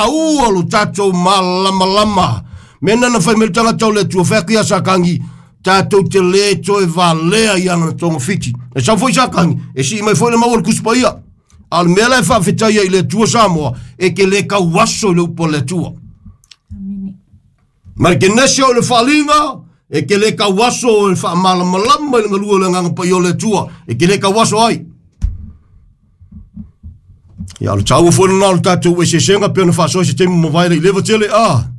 taua lo tatou malamalama. Mea na na fai mai le tagata o le Atua, fai atu ia Satani, tatou te le toe valea i ana togafiti. E sau foi Satani, e sii mai foi le mau o le Tusi Paia. A o le mea la e faafetai ai i le Atua Samoa, e te le tauaso i le upu a le Atua. Ma le kenese o le faaaliga, e te le tauaso e faamalamalama i le galue o le Agaga Paia o le Atua, e te le tauaso ai. Ia, o le taua foi lena o le tatou eseesega pei ona faasoa i se taimi mavae le i leva tele a.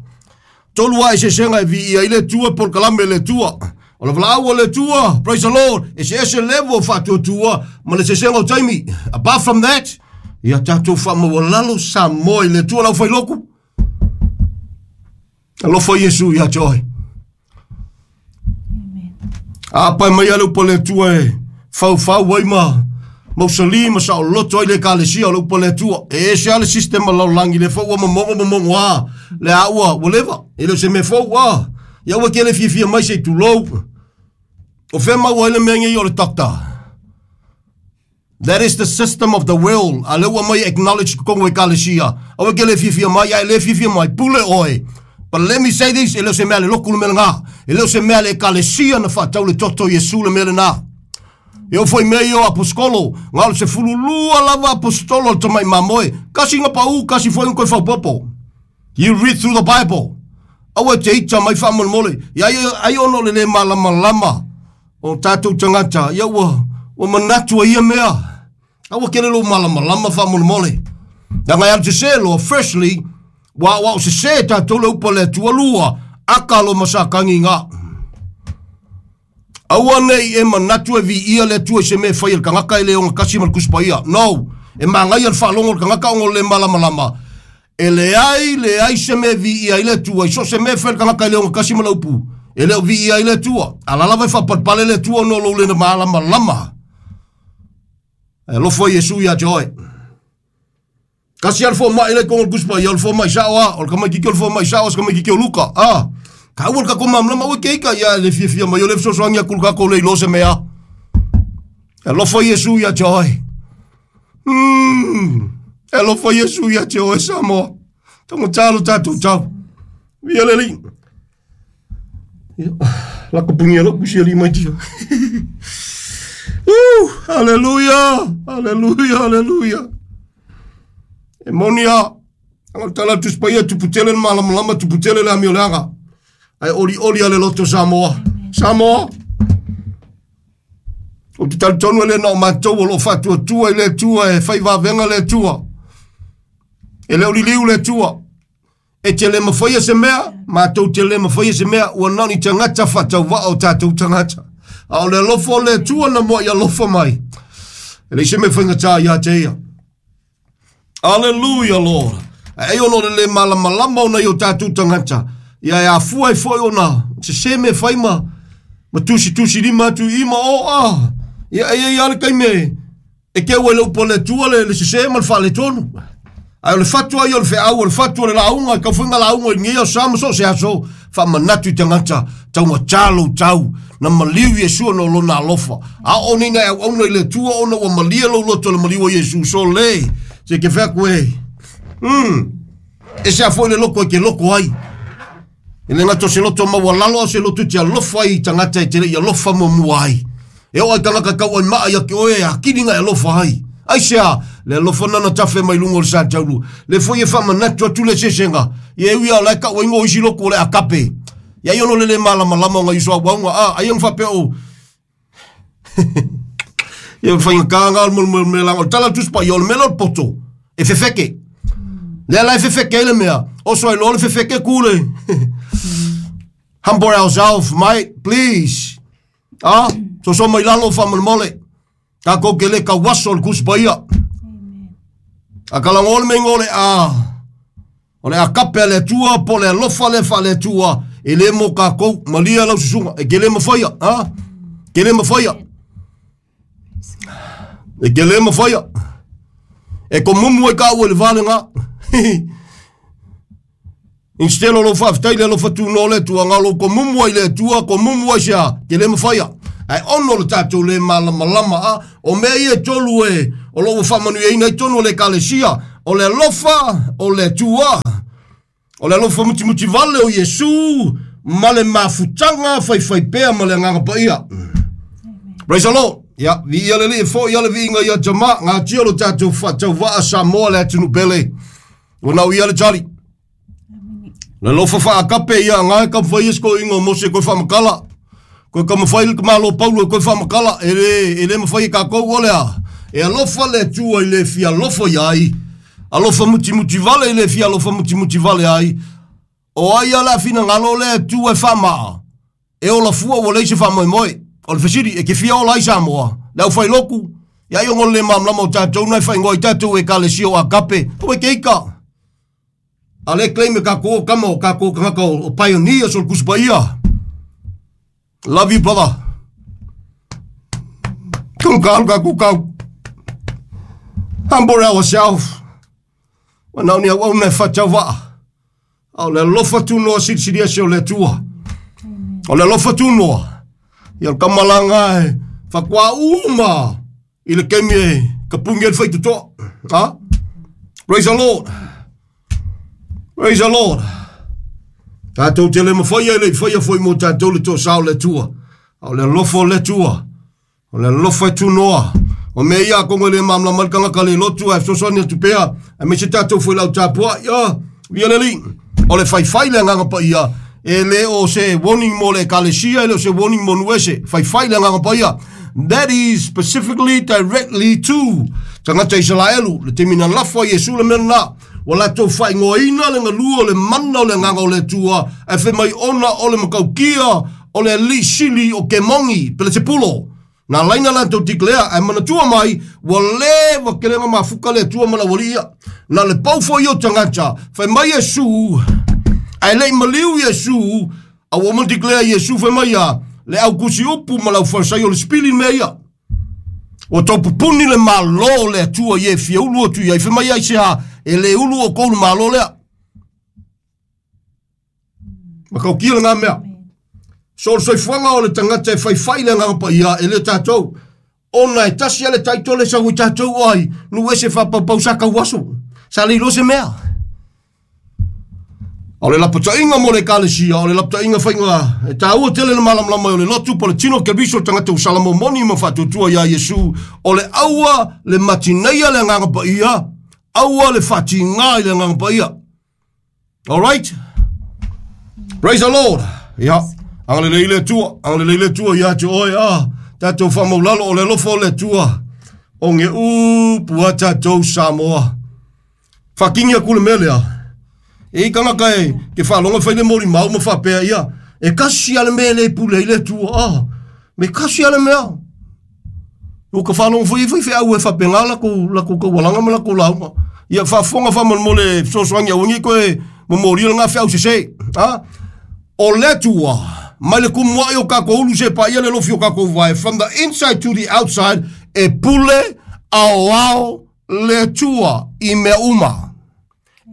Tolu a eseesega e viia ai le Atua polokalame a le Atua. O le valaau a le Atua, praise the Lord, eseese level o faatuatua ma le eseesega o taimi. Apart from that, ia tatou faamaualalo Samoa i le Atua lau failoku. Alofa Iesu ia te oe. Apai mai a le upu a le Atua e faufau ai ma mausali ma saoloto ai le ekalesia o le upu a le Atua. E ese lava le system a le lalolagi, lea foi ua momogo momogo a le a ua ua leva. E le o se mea fou a. Ia aua e te le fiafia mai se i tulou. O fea maua ai le mea nei o le doctor? That is the system of the world. A lea ua aumai e acknowledge i totonu o ekalesia. Aua e te le fiafia mai, a e le fiafia mai, pule oe. But let me say this, e le o se mea a le lotu le mea lena. E le o se mea a le ekalesia na faatau le toto o Iesu le mea lena. E oo foi i mea ia o aposetolo, na o le 12 lava aposetolo a le tamai mamoe. Kasi na pau, kasi foi na toe faaopoopo. You read through the Bible. Aua e te ita mai faamolemole. Ia ai, ai ona o le le malamalama o tatou tagata, ia ua, ua manatu ai ia mea. Aua kele lou malamalama faamolemole. Leaga e alu sese loa, firstly, ua aoao sese tatou le upu a le Atua lua, aka lo ma Satani ga. Aua ne i e manatu e viia le Atua i se mea e fai e le tagata e le ogatasi ma le Tusi Paia. No! E manaia le faalogo o le tagata ona o le le malamalama. E leai, leai se mea e viia ai le Atua i so o se mea e fai e le tagata e le ogatasi ma le upu. E le o viia ai le Atua. A la lava e faapalepale le Atua ona o lou le malamalama. Ae alofa Iesu ia te oe. Kasi lava le fomai la i totonu o le Tusi Paia, o le fomai sao lava, o le tamaitiiti o le fomai sao a o se tamaitiiti o Luka. A, taua le tatou malamalama, aua e te ita ia le fiafia mai o le fesoasoani atu i le tatou le iloa se mea. E alofa Iesu ia te oe. Mm, e alofa Iesu ia te oe Samoa. Taugata lo tatou tau. Via le Alii. Ia, lako punia lou pusi alii mai tia. Uh, haleluia, haleluia, haleluia. E moni a, anga tala le Tusi Paia, tupu tele le malamalama, tupu tele le amioleaga. Ae olioli a le loto Samoa. Samoa, ou te talitonu e le na o matou o lo o faatuatua i le Atua e fai vavega le Atua. E le o liliu le Atua. E te le mafaia se mea, matou te le mafaia se mea, ua na o ni tagata faatauvaa o tatou tagata. A o le alofa o le Atua na muai alofa mai. E leai se mea faigata ia te ia. Aleluia, Lord. Ae ai ona o le le malamalama o nai o tatou tagata, ia e afua ai foi ona sese mea fai ma, ma tusitusi lima atu i i ma o a. Ia e i ai lava le taimi e, e keu ai le upu a le Atua le, le sese ma le faaletonu. Ae o le fatu ai o le feau, o le fatu o le lauga, e tau foi nga lauga i lenei aso ma so o se aso, faamanatu i tagata, taugata lou tau, na maliu Iesu ona o lona alofa. A oo nei na e auauna i le Atua ona ua malie lou loto i le maliu o Iesu, so le, se ke fai atu e, mm, ese a foi le loto e te loto ai. E le gata o se loto maualalo, a o se loto e te alofa ai i tagata e te le i alofa muamua ai. E oo ai tagata tau ai maa ia te oe e akili na e alofa ai. Aisea, le alofa na na tafe mai luga o le sa taulu. Le foi e faamanatu atu le eseesega, ia e ui lava o la e tau ai ngo isi lotu o le agape. Ia ai ona o le le malamalama o nai uso auauna, a, ai ona faapea o, Ia faigata na o le mea leaga o le tala o le Tusi Paia o le mea lea o le poto e fefeke. Lea la e fefeke ai le mea, oso ai loa le fefeke ku le. Humble ourselves, mate, please. Ah, soso mai lalo faamolemole. Tatou te le tauaso le Tusi Paia. A kalago le mea o le a O le agape a le Atua po o le alofa lea faale-Atua e le mo kākou. Malia lau susuga, e te le mafaia, a? Te le mafaia. E te le mafaia. E komumu ai kāua i le va lena. Instead o lou faafetai le alofa tunoa o le Atua, na o lou komumu ai i le Atua, komumu ai se a, te le mafaia. Ae ono le tatou le malamalama, a? O mea ia e tolu e, o lo o ua faamanuiaina ai tonu o le Ekalesia, o le alofa, o le Atua. O le alofa mutimuti vale o Iesu ma le mafutaga faifaipea ma le Agaga Paia. Praise the Lord. Ia, viia le Alii e fo'i a le viiga ia Tama, gatia lo tatou faatauvaa Samoa le atunuu pele. Ua nau ia le tali. Le alofa faakape ia ngae ka mafai e se toeaina o Mose koe faamatala. Koe ka mafai le tamālo Paulo e koe faamatala. E le, e le mafai e tatou o le a. E alofa le Atua i le fia alofa ia ai. Alofa mutimuti vale i le fia alofa mutimuti vale ai. O ai a le a finagalo le Atua e faamaa, e ola fua ua leai se faamoemoe. O le fesili, e te fia ola ai Samoa? Le aufailotu, ia ai ona o le le malamalama o tatou na e faaigoa ai tatou Ekalesia o Agape. Aua e te ita. A lea e claim e tatou o tama o tatou tagata o pioneers o le Tusi Paia. Love you brother. Tonu ka tatou tau. Humble ourselves. Ua na o ni auauna e faatauvaa. A o le alofa tunoa silisili ese o le Atua. O le alofa tunoa. Ia o le kamalaga e faatoa uma i le taimi e tapuni ai le faitotoa. Ha? Praise the Lord. Praise the Lord. Tatou te le mafai e le i faia foi mo tatou le toasā o le Atua. A o le alofa o le Atua. O le alofa e tunoa. O mea ia atonu e le malamalama ai le tagata le lotu ae fesoasoani atu pea aemaise tatou foi lau tapuai. Ah, via le Alii. O le faifai le Agaga Paia e le o se warning mo le ekalesia, e le o se warning mo nuu ese. Faifai le Agaga Paia. That is specifically directly to tagata Isaraelu. Le taimi na lafo ai Iesu le mea lena. Ua latou faaigoaina le galue o le mana o le Agaga o le Atua, ae fai mai ona o le matautia o le alii sili o Kemogi, Pelesepulo. Na laina latou declare, ae manatua mai, ua leva tele ona mafuta le Atua ma le aualii ia. Na le pau foi ia o tagata, fai mai Iesu, ae le i maliu Iesu, a ua uma ona declare Iesu fai mai ia, le au tusi upu ma le au Farisai o le sipili le mea ia. Ua tau pupuni le Malo o le Atua i e fia ulu atu i ai, fai mai aisea, e le ulu outou i le Malo lea. Matautia lena mea. So o le soifuaga o le tagata e faifai le Agaga Paia e le tatou. Ona e tasi lava le title e sau ai tatou o ai, nuu ese faapaupau sa tau aso. Sa le iloa se mea. O le lapataiga mo le ekalesia, o le lapataiga faiga e taua tele le malamalama o le lotu po o le tino o Keriso, le tagata ua salamomoni ma faatuatua iā Iesu, o le aua le matineia le Agaga Paia, aua le faatiga i le Agaga Paia. Alright? Praise the Lord. Ia, agalelei le Atua, agalelei le Atua ia te oe, ah, tatou faamaulalo o le alofa o le Atua, o ge upu a tatou Samoa. Faakini atu le mea lea, e i tagata e ke faalogo e fai le molimau ma faapea ia, e kasi a le mea e le pule ai le Atua, ah, me kasi a le mea. Ua ka faalogo foi i faifeau e faapena latou latou taualaga ma latou lauga. Ia faafofoga faamolemole e fesoasoani aua ne i toe momolia lena feau sese. A? O le Atua, mai le tumuai o tatou ulu seia paia le lofi o tatou vae, from the inside to the outside, e pule aoao le Atua i mea uma.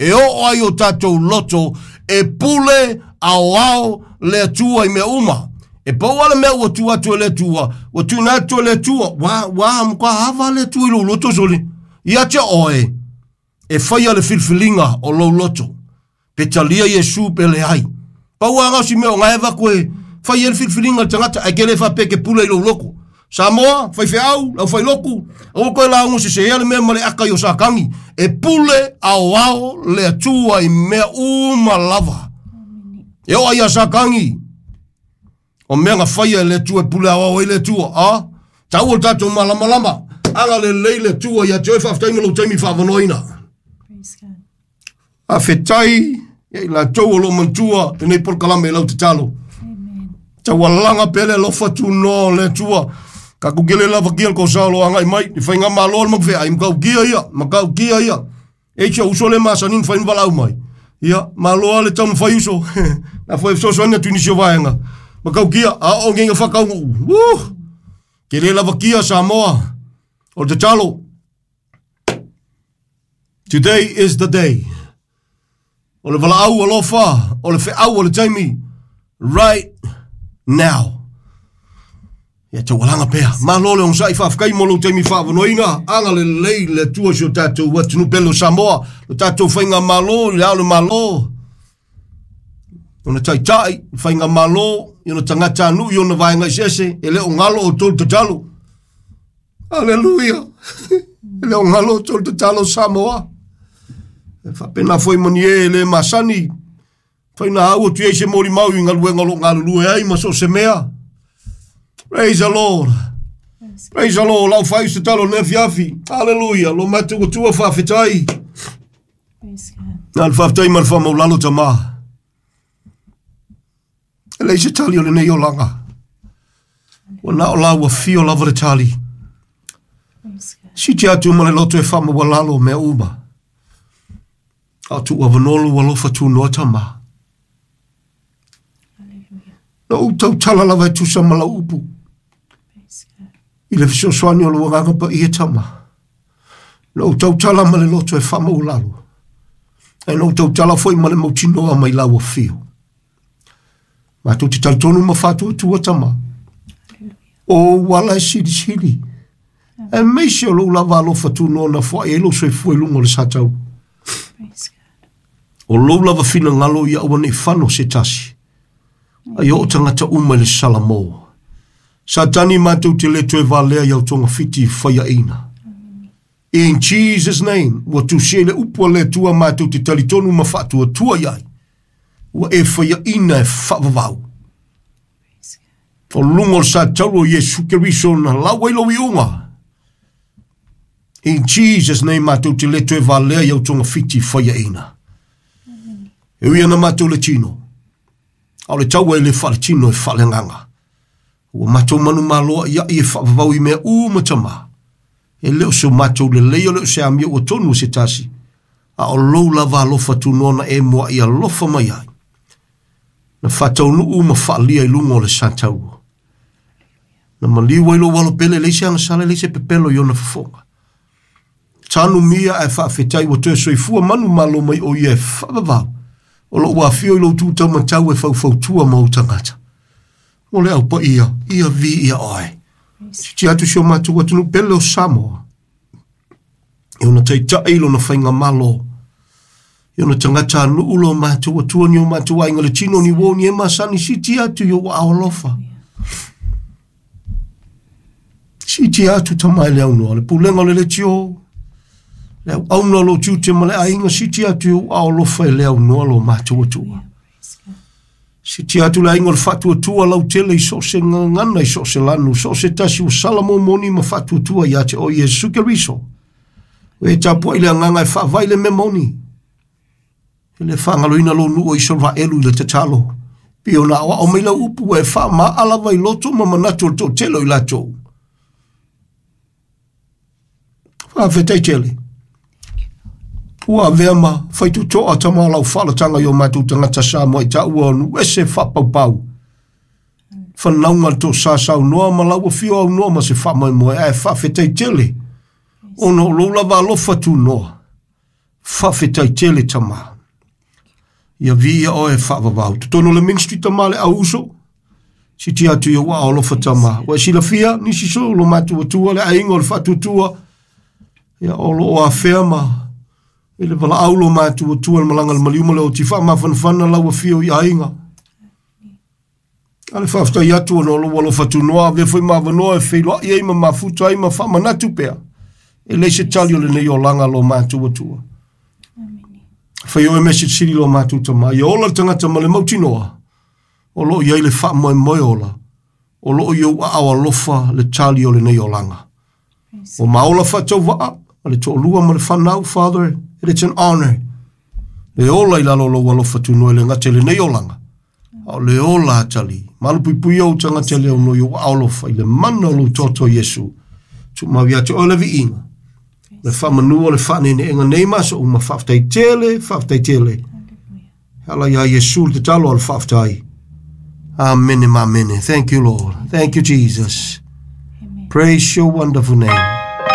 E oo ai o tatou loto e pule aoao le Atua i mea uma. E pau lava le mea ua tuu atu e le Atua, ua tuuina atu e le Atua, ua, ua matua ava le Atua i lou loto sole. Ia te oe, e faia le filifiliga o lou loto. Pe talia Iesu pe leai. Pau lava na o si mea o na e avatu e fai ai le filifiliga a le tagata, ae ke le faapea e te pule i lou loto. Samoa, faifeau, le aufailotu, aua toe lauga sesea le mea ma le aka i o Satani. E pule aoao le Atua i mea uma lava. E oo ia Satani, o mea na faia e le Atua e pule aoao ai le Atua. A, taua le tatou malamalama. Agalelei le Atua ia te oe, faafetai mo lou taimi faavanoaina. Faafetai ia i latou o lo o manatua lenei polokalame i lau tatalo. Taualaga pea le alofa tunoa o le Atua. Tatou te le lavakia le toasā o lo o agai mai. Le faigamalo a le Magafeai, matautia ia, matautia ia. E si ou uso lea masani ona fai ma valaau mai. Ia, malo lava le taumafai uso. Na foi e fesoasoani atu i nisi o vaega. Matautia, a oo nei ina faataunuu. Woo! Te le lavakia Samoa. O le tatalo, Today is the day. O le valaau alofa, o le feau o le taimi, right now. Ia taualaga pea. Malo le onosai faafetai mo lou taimi faavanoaina. Agalelei le Atua i si o tatou atunuu pele o Samoa, lo tatou faigamalo i le ao o le Malo. Ona taitai, faigamalo, i ona tagatanuu i ona vaega eseese, e le o galo outou i le tatalo. Aleluia! E le o galo outou i le tatalo Samoa. E faapena foi ma ni e le masani, faina au atu i ai se molimau i galuega o lo o galulue ai ma so o se mea. Praise the Lord. Praise the Lord. Lau fai se talo le afiafi. Hallelujah. Lo matou Atua faafetai. Praise God. Na le faafetai ma le faamaulalo tama. E leai se tali o lenei olaga. Ua na o la ua fio lava le tali. Praise God. Siti atu ma le loto e faamaualalo mea uma. A o tuu avanoa lou alofa tunoa tama. Hallelujah. Na ou tautala lava e tusa ma lau upu. Praise God. I le fesoasoani o lou agaga paia tama. Na ou tautala ma le loto e faamaualalo. Ae na ou tautala foi ma le mautinoa mai lau afio. Matou te talitonu ma faatuatua tama. Hallelujah. O ou ala e silisili. Aemaise o lou lava alofa tunoa na foai ai lou soifua i luga o le sa taulu. Praise God. O lou lava finagalo ia aua ne i fano se tasi. Ai oo tagata uma i le salamo. Satani matou te le toe valea i au togafiti faiaina. In Jesus name, ua tusia i le upu a le Atua matou te talitonu ma faatuatua i ai. Ua e faiaina e faavavau. Praise God. O luga o le sa taulu o Iesu Keriso na lau ai lou iuga. In Jesus name matou te le toe valea i au togafiti faiaina. E ui ana matou le tino. A o le taua e le faaletino e faaleagaga. Ua matou manumalo a'ia'i e faavavau i mea uma tama. E le o so matou lelei o le o se amio ua tonu se tasi. A o lou lava alofa tunoa na e mua'i alofa mai ai. Na faataunuu ma faalia i luga o le sa taulu. Na maliu ai lou alo pele leai se agasala leai se pepelo i ona fofoga. Tanu mia ae faafetai ua toe soifua manumalo mai o ia e faavavau. O lou afio i lou tu taumatau e faufautua ma ou tagata. Mo le au paia, ia viia oe. Siti atu si o matou atunuu pele o Samoa. E ona taitai lona faigamalo. E ona tagatanuu lo matou Atua ni o matou aiga le tino ni uo ni e masani siti atu i ou aao alofa. Siti atu tama e le aunoa, le pulega o le leitio, le auauna o lou tiute ma le aiga, siti atu i ou aao alofa e le aunoa lo matou Atua. Praise God. Siti atu le aiga o le faatuatua lautele i so o se gagana i so o se lanu, so o se tasi ua sala momoni ma faatuatua ia te oe Iesu Keriso. O e tapuai le agaga e faavae le mea moni. E le faagaloina lou nuu o Isaraelu i le tatalo. Pei ona aoao mai lau upu ua e faamaa lava i loto ma manatu o le toatele o i latou. Faafetai tele. Ua avea ma faitotoa tama o lau faalataga i o matou tagata Samoa i taua o nuu ese faapaupau. Fanauga le toasa saunoa ma lau afio aunoa ma se faamoemoe ae faafetai tele. Ona o lou lava alofa tunoa. Faafetai tele tama. Ia viia oe faavavau. Totonu o le ministry tama le au uso. Siti atu i ou aao alofa tama. Ua e silafia nisi so lo matou Atua le aiga o le faatuatua. Ia o loo afea ma i le valaau lo matou Atua le malaga le maliu ma le oti faamafanafana lau afio i aiga. A le faafetai atu ona o lou alofa tunoa avea foi ma avanoa e feiloai ai ma mafuta ai ma faamanatu pea. E leai se tali o lenei olaga lo matou Atua. Amen. Fai oe mea silisili lo matou tama. Ia ola le tagata ma le mautinoa. O loo i ai le faamoemoe ola. O loo i ou aao alofa le tali o lenei olaga. Praise O maola faatauvaa, ma le toalua ma le fanau, Father, it is an honor. Le ola i lalo o lou alofa tunoa e le gata i lenei olaga. A o le ola atali. Malupuipuia ou tagata le aunoa i ou aao alofa i le mana o lou toto Iesu. Tuumau ia te oe le viiga. Le faamanua le faaneeneega nei ma aso uma faafetai tele, faafetai tele. Hallelujah. Ala ia Iesu le tatalo a le faafetai. Amene ma amene. Thank you, Lord. Thank you, Jesus. Amen. Praise your wonderful name.